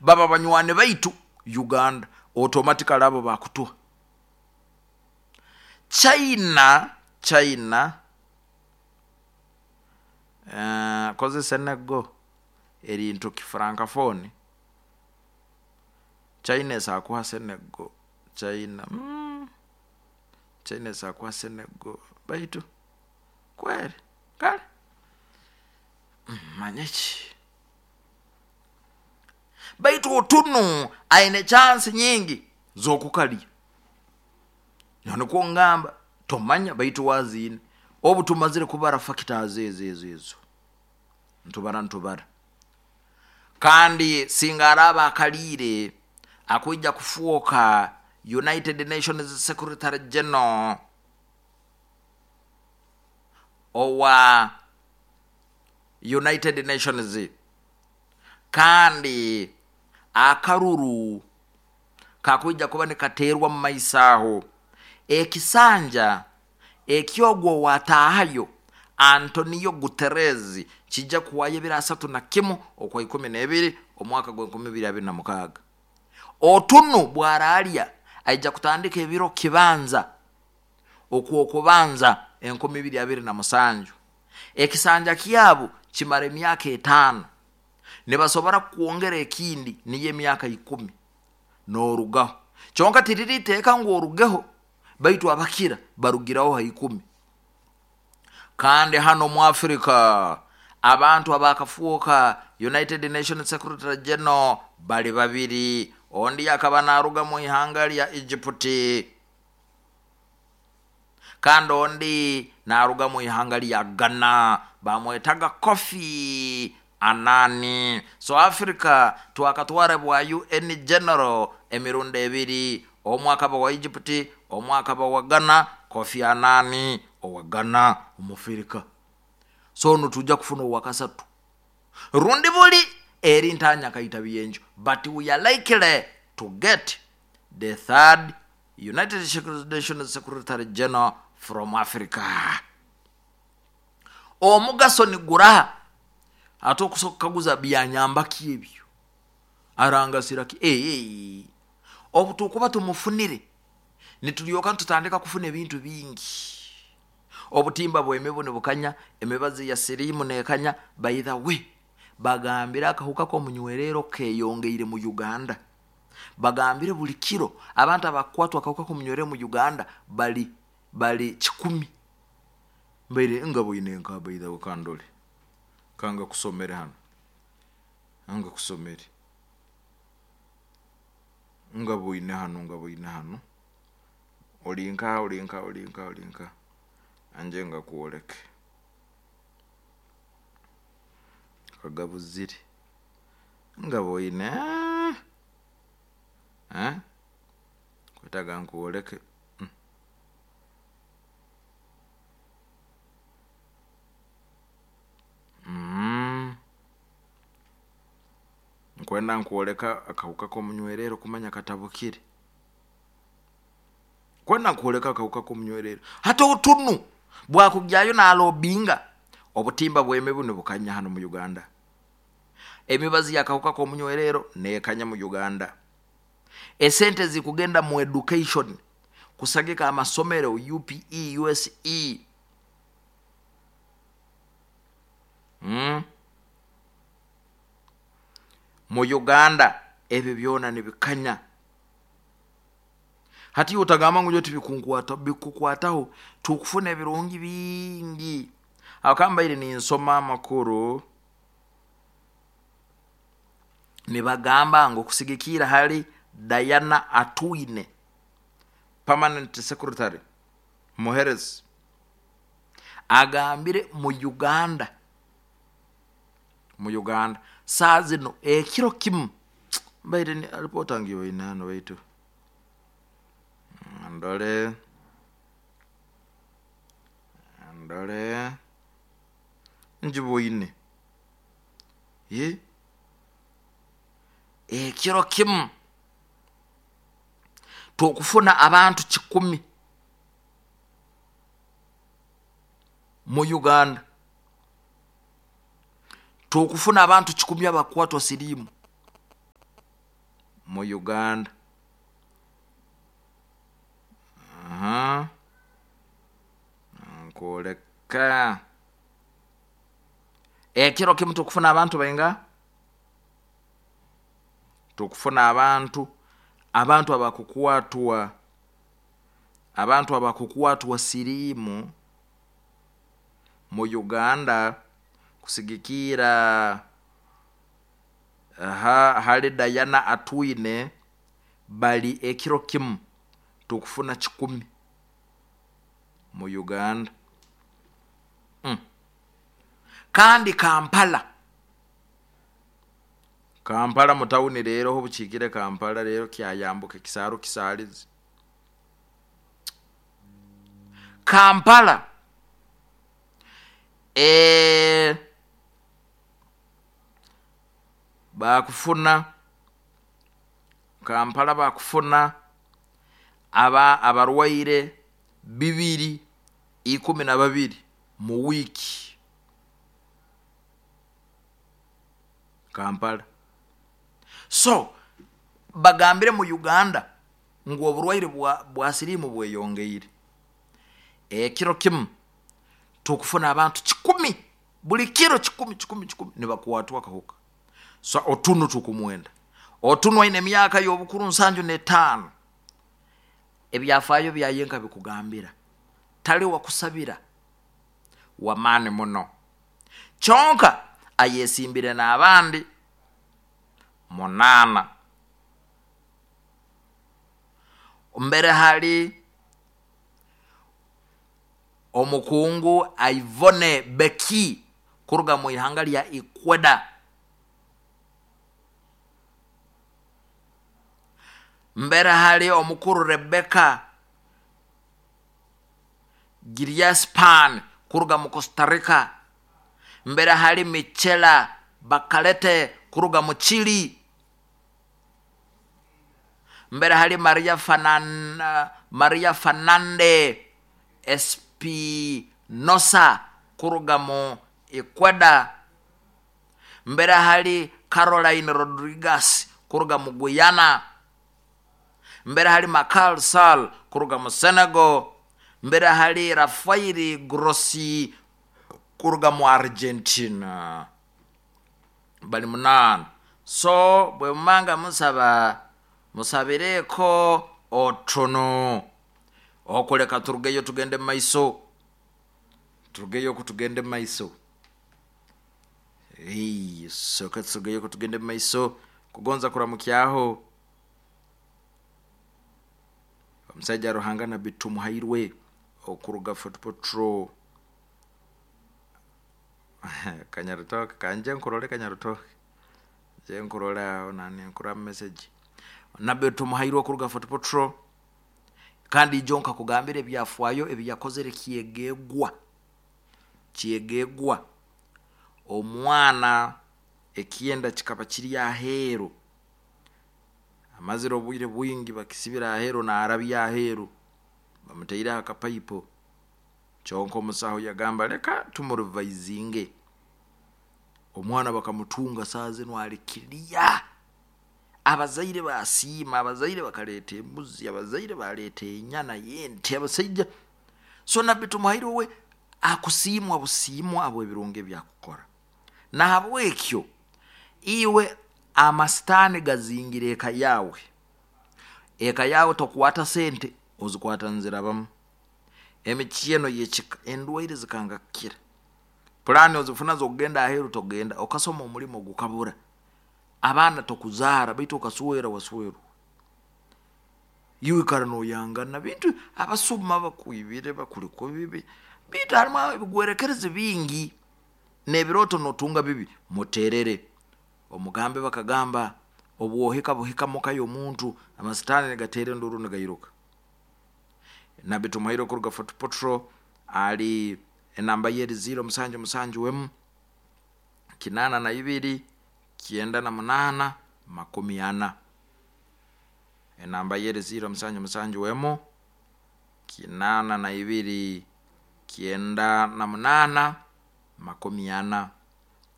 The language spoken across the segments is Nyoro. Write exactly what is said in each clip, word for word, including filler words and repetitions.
Baba banywani baitu Uganda automatically abo bakutuha. China, China uh, koze Senegal erintu kifrancophone. China esakuha Senegal. China mm. China esakuha Senegal baitu kweri kale mm, manyeki baitu otunu aine chance nyingi zokukalya noniko ngamba tomanya baitu wazine obu tumazire kubara factors ezo ezo ezo ntubara ntubara kandi singa araba akaliire akwija kufuoka United Nations Secretary General owa United Nations, kandi akaruru kakwija kuba nikaterwa mu maiso aho. Ekisanja ekyogwo watahayo Antonio Guterres kijja kuwayo ebiro asatu na kimu okwa ikumi n'ebiri omwaka gw'enkumi ibiri abiri na mukaaga. Otunu bwaralya aija kutandika ebiro kibanza okwokubanza enkumi ibiri abiri na musanju. Ekisanja kyabo kimara emyaka etaano, nibasobora kwongera ekindi niyo emyaka ikumi n'orugaho. Kyonka tiriri iteeka ngu orugeho, baitu abakira barugiraho ha ikumi. Kandi hano mu Afrika abantu abakafuuka United Nations Secretary General bali babiri. Ondi akaba naruga mu ihanga lya Egypt, kandi ondi naruga mu ihanga lya Ghana, bamwetaga Kofi Annan. So Africa twakatwara bwa U N General emirundi ebiri, omwe akaba wa Egypt, omwe akaba wa Ghana, Kofi Annan owa Ghana omufirika. So nitujja kufuna owakasatu rundi buli eri ntanya kaita byenjo, but we are likely to get the third United Nations Secretary General from Africa. Omugaso ni guraha ate okusobola kukaguza byanyambaki ebyo arangasiraki. Eh, eh. Obu tukuba tumufunire nitulyoka tutandika kufuna ebintu bingi. Obutimba bw'emibu nibukanya, emibazi ya siriimu nekanya. By the way, bagambire akahuka k'omunywerero keyongeire mu Uganda. Bagambire buli kiro abantu abakwatwa akahuka k'omunywerero mu Uganda bali, bali kikumi. Mbaire nga bwine nka by the way kandole kanga kusomere hano, anga kusomere nga bwine hano, nga bwine hano olinka olinka olinka olinka anje nga kuoleke kagabuzire nga bwine eh kwetaga nkuoleke. Mm. Mm. Nkwenda nkuoleka akahuka k'omunywerero kumanya katabukire. Kwenda nkuoleka akahuka k'omunywerero hata otunu bwakugyayo nalobinga obutimba bw'emibu nibukanya hano mu Uganda. Emibazi y'akahuka k'omunywerero nekanya mu Uganda. Esente zikugenda mu education kusagika amasomero U P E, U S E. Mm. Mu Uganda ebyo byona nibikanya. Hati utagamba ngu nyo tibikunkwata, bikukwataho tukufuna ebirungi bingi. Akambaire ninsoma amakuru nibagamba ngu kusigikira hali Diana Atwine, permanent secretary muherezi, agambire mu Uganda, mu Uganda saa zino ekiro kimu mbaire ni ripota ngiyo inano baitu ndole ndole njiboine ye ekiro kimu tukufuna abantu kikumi mu Uganda, tukufuna abantu kikumi abakwatwa sirimu. mu Uganda. Aha. Nkoleka ekiro kimu tukufuna abantu bainga, tukufuna abantu abantu abakukwatwa abantu abakukwatwa siriimu mu Uganda kusigikira aha hali Diana Atwine bali ekiro kimu tukufuna kikumi mu Uganda. Mm. Kandi Kampala Kampala mutawuni rero ho bukikire Kampala rero kyayambuka kisaro kisalizi Kampala e bakufuna Kampala bakufuna aba abarwaire bibiri ikumi na babiri mu wiki Kampala. So bagambire mu Uganda ngu oburwaire bwa, bwa siriimu bweyongeire. Ekiro kimu tukufuna abantu kikumi buli kiro kikumi kikumi kikumi nibakwatwa kahuka. So otunu tukumwenda otunu aine emyaka y'obukuru nsanju n'etaano, ebyafaayo byayenka bikugambira tali wakusabira wamaani muno, kyonka ayesimbire n'abandi munaana. Mbere hali omukungu Ivone Beki kuruga mu ihanga lya Ecuador. Mbere hali omukuru Rebecca Giriaspan kuruga mu Costa Rica. Mbere hali Michela Bakalete kuruga mu Chile. Mbere hali Maria Fanan, Maria Fernande Espinosa kuruga mu Ecuador. Mbere hali Caroline Rodriguez kuruga mu Guyana. Mbere hali Makal Sall kuruga mu Senegal. Mbere hali Rafael Grossi kuruga mu Argentina. Bali munana. So bwe mumanga musaba musabireko otono okuleka turugeyo tugende maiso, turugeyo kutugende maiso. Ei, soka turugeyo kutugende maiso kugonza kuramukyaho omusajja Ruhanga na bitumuhairwe okuruga Fort Portal Kanyarutoke kanje nkurole Kanyarutoke je nkurole nani nkura message nabbe tumuhairwe okuruga Fort Portal. Kandi jonka kugambira ebyafwayo ebiyakozere kyegegwa kyegegwa omwana ekyenda kikaba kiri aheero, amazire obwire bwingi bakisibira aheero na arabya aheero bamuteire akapaipo. Kyonka omusaho yagamba leka tumurivaizinge. Omwana bakamutunga saa zino alikiria. Abazaire basiima, abazaire bakaleta embuzi, abazaire baleta enyana y'ente, abasajja. So nabbi Tumuhairwe we akusiimwa busiimwa abo ebirungi ebyakukora. Nahabwekyo iwe amasitaani gazingire eka yawe, eka yawe tokwata sente ozikwata nzirabamu, emikyeno yekika endwaire zikangakira, pulani ozifuna zokugenda aheeru togenda, okasoma omulimo gukabura, abaana tokuzaara baitu okaswera waswerwa, iwe ikara noyangana bintu abasuma bakwibire bakuliko bibi bitu harimu ebigwerekerezi bingi n'ebiroto notunga bibi. Muterere omugambe bakagamba obwohika buhika muka y'omuntu amasitaani nigateera enduru nigairuka. Nabbi Tumuhairwe kuruga Fort Portal ali enamba ye eri ziro musanju musanju wemu kinana na ibiri kyenda na munana makumi ana. Enamba ye eri ziro musanju musanju wemu kinana na ibiri kyenda na munana makumi ana.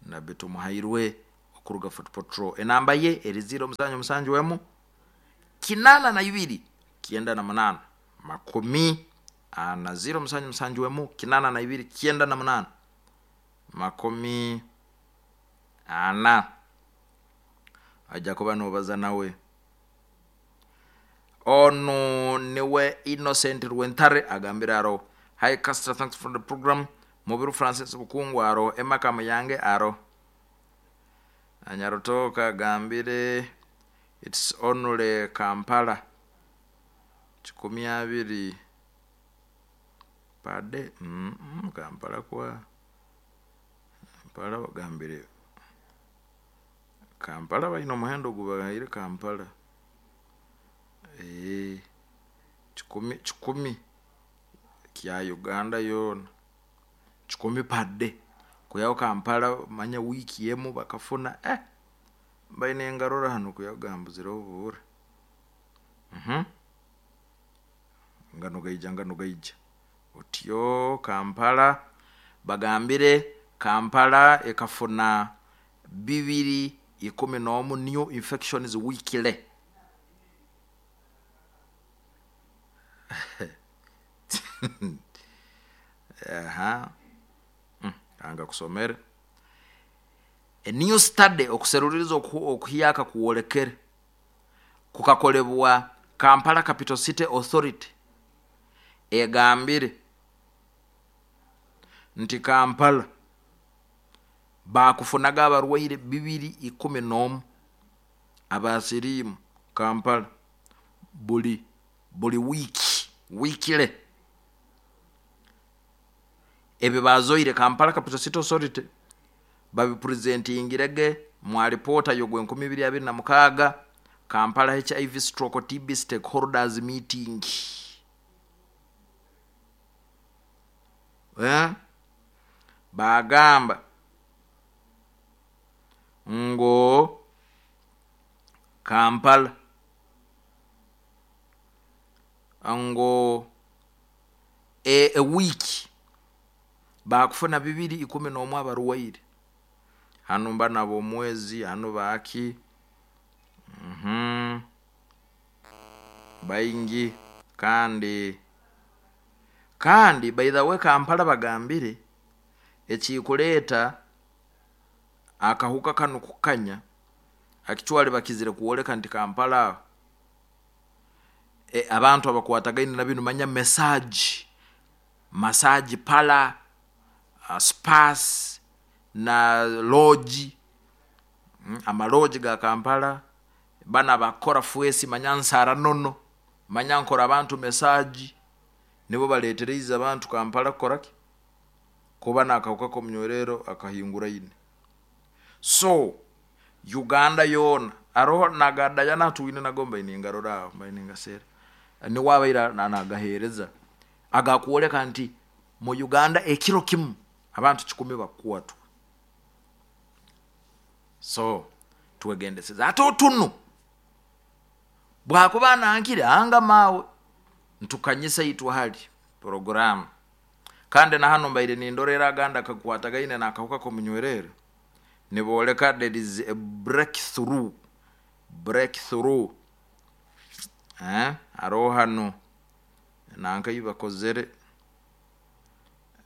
Nabbi Tumuhairwe okuruga Fort Portal enamba ye eri ziro musanju musanju wemu kinana na ibiri kyenda na munana makumi ana ziro musanju musanju emu kinana na ibiri kyenda na munana makumi ana ajja kuba nobaza nawe. Onu niwe Innocent Rwentare agambire aro hi Castor, thanks for the program. Mubiru Francis Bukungu aro Emma Muyange aro Anyarutoka agambire it's only Kampala kikumi abiri pade mm -mm, Kampala kwa Kampala bagambire Kampala balina omuhendo gubahaire Kampala eh kikumi kikumi kya Uganda yoona kikumi pade kuyaho Kampala manya wiiki emu bakafuna eh baine engarora hano kuyagambuzira obuure mhm ngano gaija ngano gaija otyo Kampala bagambire Kampala ekafuna bibiri ikumi n'omu new infections weekly. Aha mm, anga kusomere a new study okuseruliriza okuhiyaka kuwolekere kukakolebwa Kampala Capital City Authority egambire nti Kampala bakufunaga abarwaire bibiri ikumi n'omu abasiriimu Kampala buli buli wiiki weekly. Ebyo bazoire Kampala Capital City Authority babipresentingirege mu alipoota yogwe enkumi ibiri abiri na mukaaga Kampala H I V stroke T B stakeholders meeting. Eh? Bagamba ngo Kampala ngo e, e wiki bakufuna bibiri ikumi n'omu abarwaire hano mba nabo omwezi hano baki mhm baingi kandi kandi by the way Kampala bagambire ekikuleta akahuka kano kukanya akitwale bakizire kuoleka nti Kampala e, abantu abakwatagaine na binu manya message massage pala uh, spas na lodge mm, amaloji ga Kampala bana bakora fuesi manyansara nono manyankora abantu message nibo baletereza abantu Kampala koraki kuba nakauka komnyorero akahingura ine. So Uganda yona aroho nagadaya natuine nagomba iningarora mbayiningasera ni wabaira nagahereza agakuoleka nti mu Uganda ekiro kimu abantu kikumi bakuwatu. So twegendeseza ate otunu bwakuba nankire anga mawe ntukanyisa itwa hali program kandi na hano mbaire nindorera aganda kakwatagaine nakahuka komunywerere niboleka there is a breakthrough breakthrough eh aro hano nanka ibakozere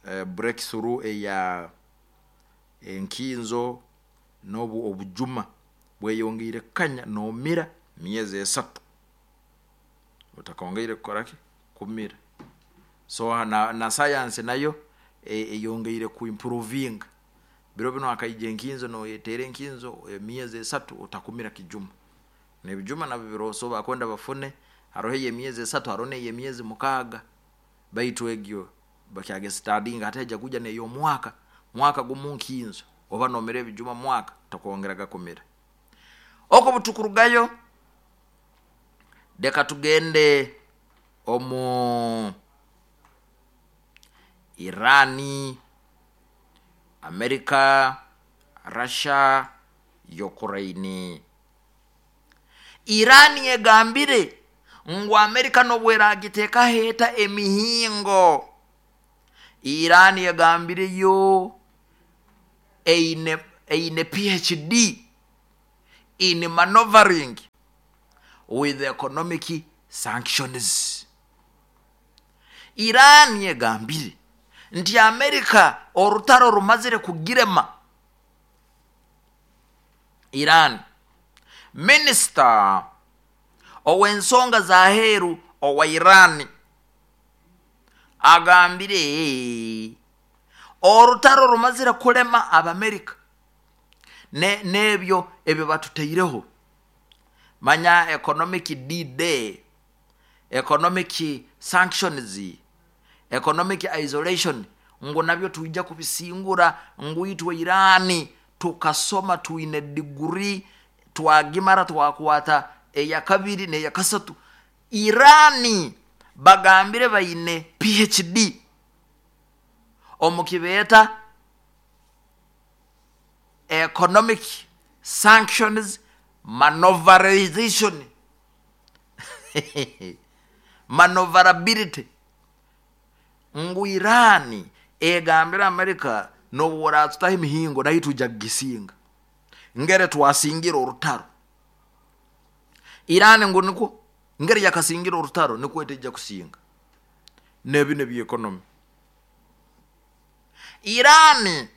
eh, breakthrough eya enkinzo nobu obujuma bweyongeire kanya nomira miezi esatu utakongeire kukoraki kumira. So na, na science nayo eyongeire e, ku improving biro bino akaije enkinzo no yetere enkinzo e, miezi esatu utakumira kijuma nebijuma nabyo biroso bakwenda bafune arohe ye miezi esatu arone ye miezi mukaga baitu egyo bakyage studying ateja kuja neyo mwaka mwaka gumunkinzo oba nomere bijuma mwaka takwongeraga kumira oko butukurugayo. Deka tugende omu Irani, Amerika, Russia, Ukraine. Irani egambire ngu Amerika nobweragiteka heta emihingo. Irani egambire yo eine eine P H D in maneuvering. with economic sanctions. Iran yegambire nti Amerika orutaro rumazire kugirema. Iran minister ow'ensonga za heru owa Iran agambire orutaro rumazire kulema Abamerika ne nebyo ebyo batuteireho, manya economic D-Day, economic sanctions, economic isolation, ngo nabyo tuija kubisingura. Ngwitwe Irani tukasoma tuine degree twagimara twakwata eya kabiri neya kasatu. Irani bagambire baine P H D omukibeta economic sanctions maneuverization maneuverability. Ngu Irani egambira Amerika nobura tutahe mihingo nayo tuja gisinga ngere twasingira orutaro. Irani ngu niko ngere yakasingira orutaro niko eteja kusinga nebi nebi economy. Irani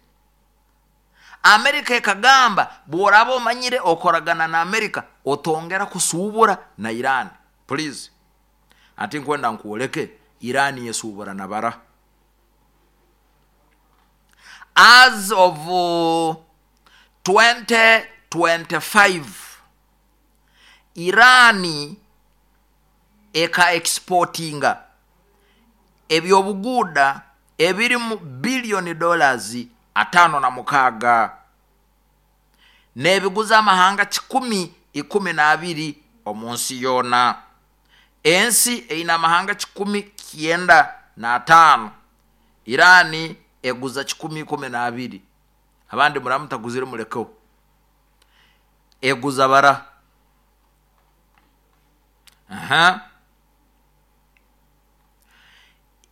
Amerika ekagamba bworaba omanyire okoragana na Amerika otongera kusubura na Irani. Please, ati nkwenda nkuoleke Irani yesubura na bara. As of uh, twenty twenty-five Irani eka exportinga ebyobuguda ebiri mu billion dollars atano na mukaga nebiguza amahanga kikumi ikumi na abiri omunsi yona. Ensi eina amahanga kikumi kienda na atano, Irani eguza kikumi ikumi na abiri. Abandi muramutaguzire muleko eguza bara. Aha,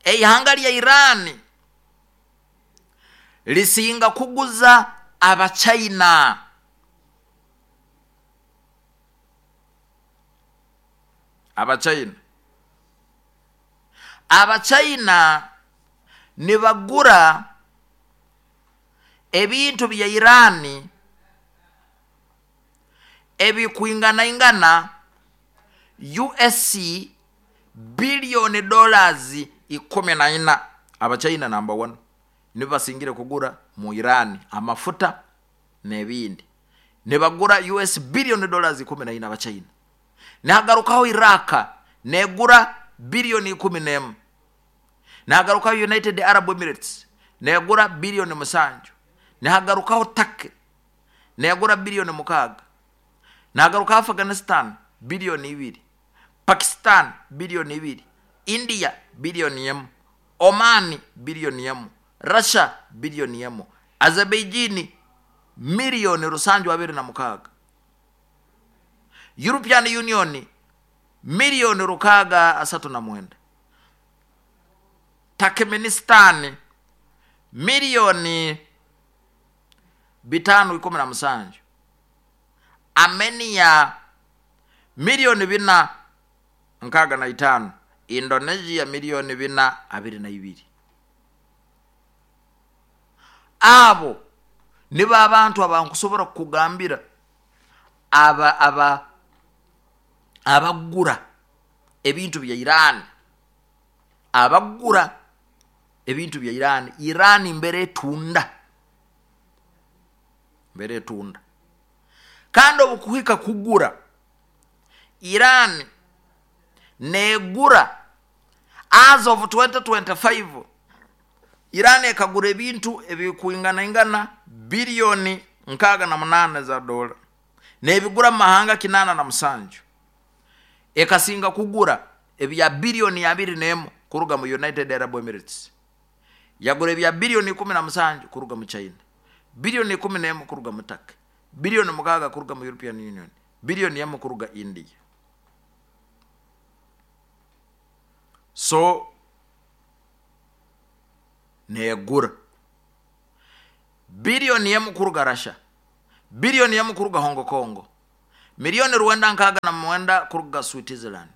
eihanga lya Irani lisinga kuguza Abachina. Abachina Abachina nibagura ebintu bya Irani ebikuingana ingana U S C billion dollars ikumi na ina. Abachina number one nibasingire kugura mu Irani amafuta nebindi, nibagura U S billion dollars ikumi na ina Abachina. Nihagarukaho Iraka negura billion ikumi nemu. Nihagarukaho United Arab Emirates negura billion musanju. Nihagarukaho Turkey negura billion mukaga. Nihagarukaho Afghanistan billion ibiri, Pakistan billion ibiri, India billion yemu, Oman billion yemu, Russia billion yemu, Azerbaijan milioni rusanju abiri na mukaga, European Union milioni rukaga asatu na mwenda, Turkmenistan milioni bitano ikumi na musanju, Armenia milioni bina nkaga na itano, Indonesia milioni bina abiri na ibiri. Abo niba abantu abankusobora kugambira aba aba abagura ebintu bya Iran, abagura ebintu bya Iran. Iran mbere tunda, mbere tunda kandi obukuhika kugura Iran negura as of twenty twenty-five Iran ekagura ebintu ebikuingana ingana bilioni nkaga na munane za dola nebigura mahanga kinana na musanju. Ekasinga kugura ebya bilioni abiri nemu kuruga mu United Arab Emirates, yagura ebya bilioni kumi na musanju kuruga mu China, bilioni kumi nemu kuruga mu Turkey, bilioni mukaga kuruga mu European Union, bilioni yemu kuruga India. So negura bilioni yemu kuruga Russia, bilioni yemu kuruga Hong Kong, Miliyoni rwenda nkaaga na mwenda kuruga Switzerland,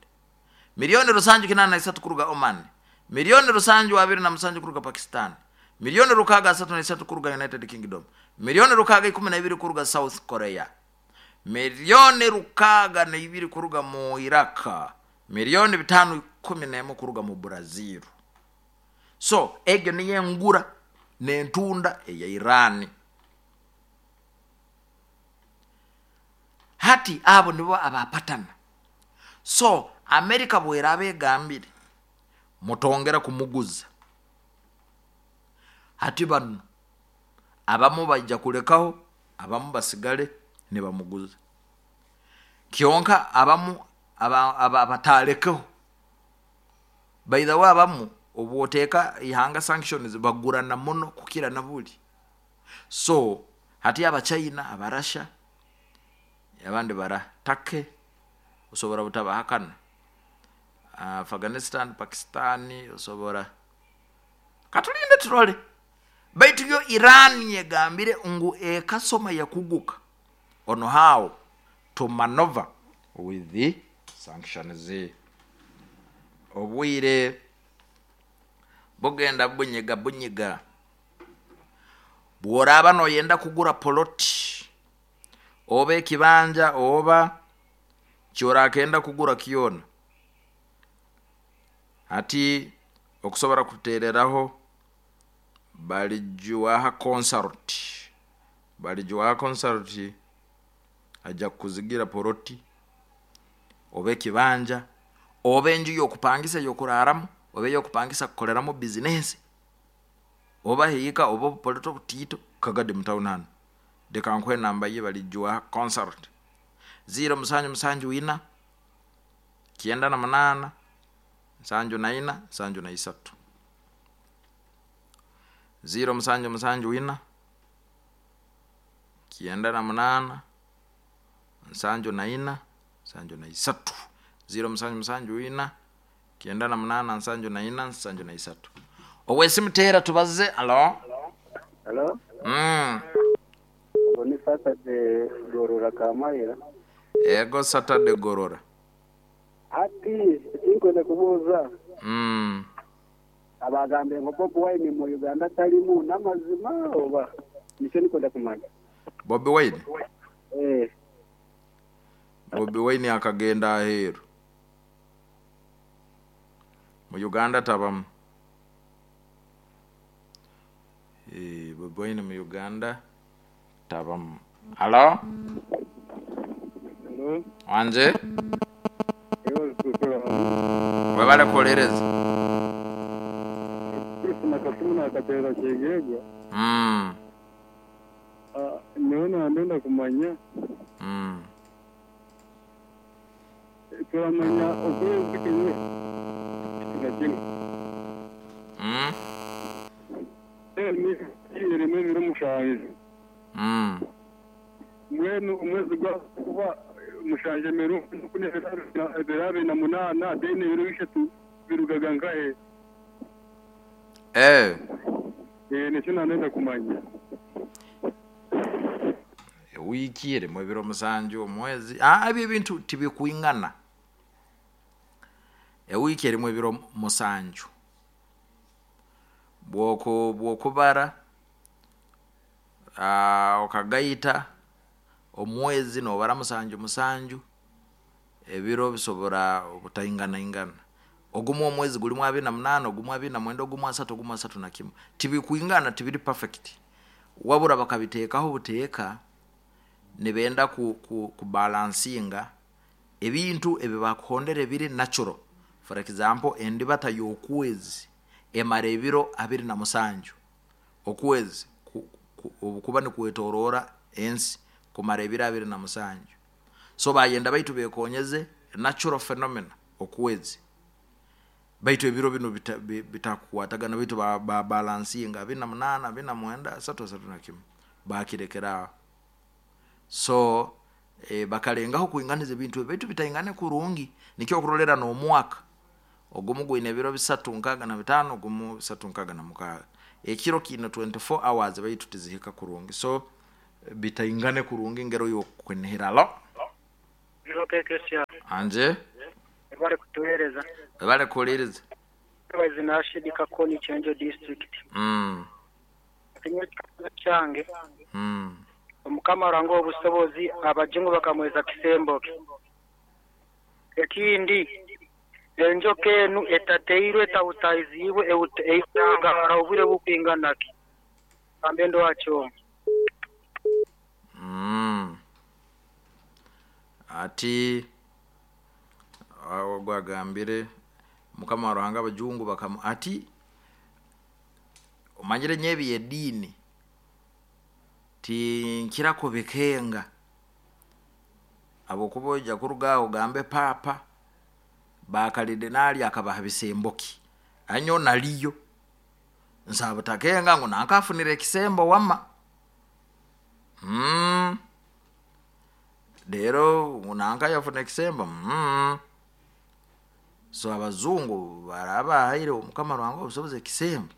miliyoni rusanju kinana na isatu kuruga Oman, miliyoni rusanju abiri na musanju kuruga Pakistan, miliyoni rukaaga asatu na isatu kuruga United Kingdom, miliyoni rukaaga ikumi na ibiri kuruga South Korea, miliyoni rukaaga na ibiri kuruga mu Iraq, miliyoni bitano ikumi n'emu kuruga mu Brazil. So egyo niyo engura n'entunda eya Iran. Hati abo nibo abapatana. So Amerika bweraba egambire mutongera kumuguza, hati bano abamu bajja kulekaho, abamu basigale nibamuguza. Kyonka abamu abatalekeho, by the way, abamu obwoteeka ihanga sanctions bagurana muno kukira na buli. So hati Abachina, Abarasha, abandi bara take osobora butabahakana, Afghanistan, Pakistan, osobora katulinde turole. Baitu yo Iran yegambire ngu ekasoma yakuguka on how to maneuver with the sanctions. Obwire bugenda bunyiga bunyiga. Bworaba noyenda kugura poloti oba ekibanja oba kyorakenda kugura kyona, hati okusobora kutereraho balijuaha consult, balijuaha consult ajja kuzigira poloti oba ekibanja oba enju yokupangisa yokuraramu oba eyokupangisa kukoreramu bizinesi oba hiika oba obupolito obutiito kagadi mutauni hanu. Leka nkuhe namba ye balijuaha consult ziro musanju musanju ina kyenda na munana nsanju na ina nsanju na isatu, ziro musanju musanju ina kyenda na munana nsanju na ina nsanju na isatu, ziro musanju musanju ina kyenda na munana nsanju na ina nsanju na isatu. Owesimu teera tubaze. Alo. Hello? Mm. Ni Saturday Gorora Kamayira. Ego Saturday Gorora. Ati tinkwenda kubuuza. Mm. Abagambe ngo Bobi Wine mu Uganda talimu n'amazima oba nikyo nikwenda kumanya. Bobi Wine? Eh. Bobi Wine akagenda aheeru. Mu Uganda tabamu. Eh, Bobi Wine mu Uganda tabamu. Halo? Hello? Wanje? Webale kuolereza. Mm. Niona ndenda kumanya. Mm. Turamanya okwezi kimwe. Mm. Eh, Mm. Mwenu umwezi gwa kuba mushanje meru kune berabe na munana dene biro bishatu birugaga ngahe. Eh. Eh, nicyo nenda kumanya. Wiki eri mu biro musanju omwezi. Ah, ebyo ebintu tibikuingana. Ewiki erimu ebiro musanju. Bwoko bwokubara ah okagaita omwezi nobara musanju musanju ebiro bisobora obutaingana ingana. Ogumu omwezi gulimu abiri na munana, ogumu abiri na mwenda, ogumu asatu, ogumu asatu na kimu. Tibikuingana, tibiri perfect. Wabura bakabiteekaho buteeka nibenda ku, ku, kubalansinga ebintu ebibakuhondera ebiri natural. For example, endibata y'okwezi emara ebiro abiri na musanju. Okwezi obukuba nikwetoroora ensi kumara ebiro abiri na musanju. So bayenda baitu bekonyeze natural phenomena okwezi. Baitu ebiro bino bitakukwatagana, baitu ba, ba balansinga abiri na munana, abiri na mwenda, asatu, asatu na kimu. Bakirekera. So e, bakalengaho kuinganiza ebintu baitu bitaingane kurungi. Nikyo okurolera n'omwaka ogumu gwine ebiro bisatu nkaaga na bitano, ogumu bisatu nkaaga na mukaaga. Ekiro kino twenty-four hours baitu tizihika kurungi. So bitaingane kurungi ngero y'okwenehera. Alo? Anje bari kutuhereza. Bari kuhereza. Bazi nashidika ko ni Chenjo district. Mm. Cyange. Mm. Omukama rango obusobozi abajungu bakamweza kisembo. Ekindi enjoka enu etateirwe etawutaizibwe eitangara obwire bukwinganaki. Ambendo wacho. Mm. Ati awo gwagambire mukama ruhanga abajungu bakamu ati omanyire nyebi yedini tinkira kubikenga abo kuboja kurugaho gambe papa bakalidenali akabaha bisemboki anyo naliyo nsaba takenga ngo nankafunire ekisembo wama mm dero nanka yafuna ekisembo mm so abazungu baraba haire omukama rwango obusobozi ekisembo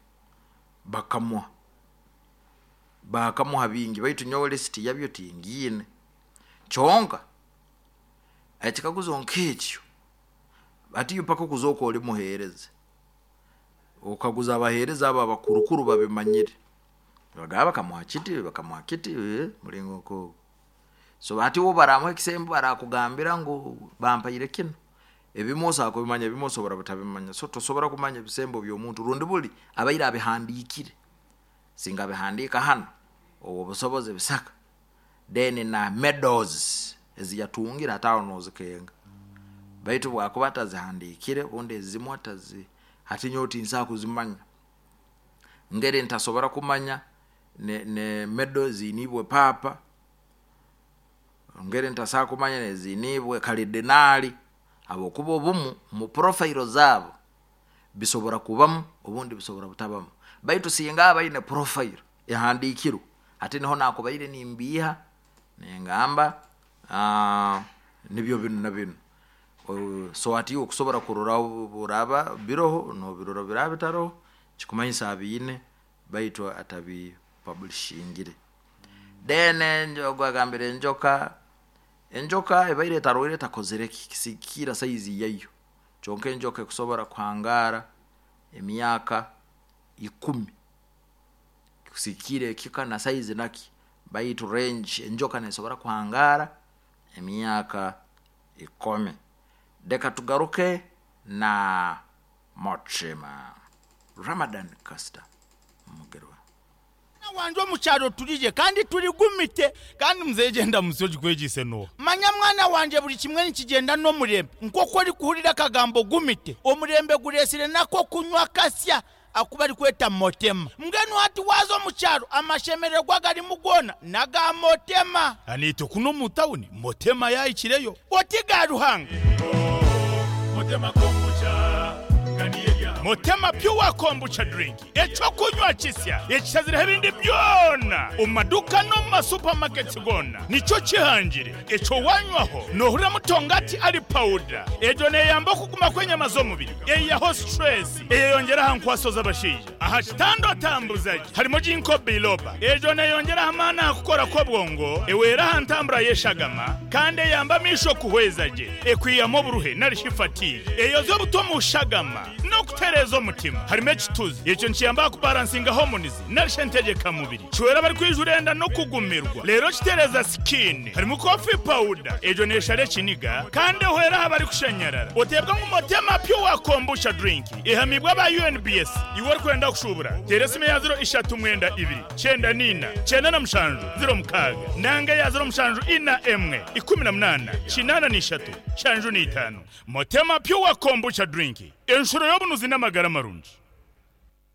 bakamuha bakamuha bingi baitu nyowe list yabyo tingine chonka ekikaguzo nkekyo ati yupaka kuzoko oli muhereze okaguza abahereza aba abakurukuru babimanyire bagaba bakamuha kiti bakamuha kiti eh, mulingo ko so ati wo baramuha ekisembo barakugambira ngu bampaire kino ebimoso akubimanya ebimoso barabutabimanya so tosobora kumanya ebisembo by'omuntu rundi buli abaire abihandikire singa bihandika hano obwo busobozi bisaka then na medals eziyatungira atawo nozikenga baitu bwakuba atazihandikire bundi ezimu atazi hati nyowe tinsa kuzimanya ngeri ntasobora kumanya ne, ne medal zinibwe papa ngeri ntasa kumanya nezinibwe kalidenali abo kuba obumu mu profile zabo bisobora kubamu obundi bisobora butabamu baitu singa abaine profile ehandikirwe ati niho nakubaire nimbiha nengamba ah nibyo binu na binu so ati okusobora kurora buraba biroho no biroro birabitaro kikumanyisa abine baitu atabi publishingire then njogagambire enjoka enjoka ebaire taroire takozere kisikira size yayo kyonka enjoka ekusobora kuhangara emyaka ikumi kusikire kika na size naki baitu range enjoka nesobora kuhangara emyaka ikumi. Deka tugaruke na Mochema Ramadan Costa Mugerwa wanje omukyalo tulije kandi tuligumite kandi muzegenda musoji kwegise no manya mwana wanje buli kimwe nikigenda n'omurembe nk'oku ori kuhurira akagambo gumite omurembe guresire nako kunywa kasya akuba ari kweta motema mbwenu hati waza omukyalo amashemererwa garimu gona naga motema anito kuno mu tawuni motema yayikireyo oti ga ruhanga motema kombucha Motema pure kombucha drink echo kunywa kisya ekisazira ebindi byona omaduka no ma supermarkets gona nico kihangire echo wanywaho nohura mutongati ali powder ejo neyamba kuguma kwenyama z'omubiri eyaho stress eyongera hankwaso z'abashija aha kitando tambuzaje harimo jinko biloba ejo neyongera hamana kukora ko bwongo ewera hantambura yeshagama kandi yamba misho kuhwezaje ekwiyamo buruhe narishifatiye eyo zo butomu shagama no kutereza omutima harimo ekituzi ekyo nkiyamba kubalansinga hormones narishentegeka mubiri kiwera bari kwijurenda no kugumirwa rero kitereza skin harimo coffee powder ejo neshare kiniga kandi hwera habari kushanyarara otebwa ngumotema pure kombucha drink ihamibwa ba U N B S iwe kwenda kushubura teresime ya zero ishatu mwenda ibiri cyenda nina cyenda na mushanju zero mukaga nanga ya zero mushanju ina emwe ikumi na munana kinana nishatu shanju ni itanu motema pure kombucha drink enshuro y'obunuzi n'amagara marungi.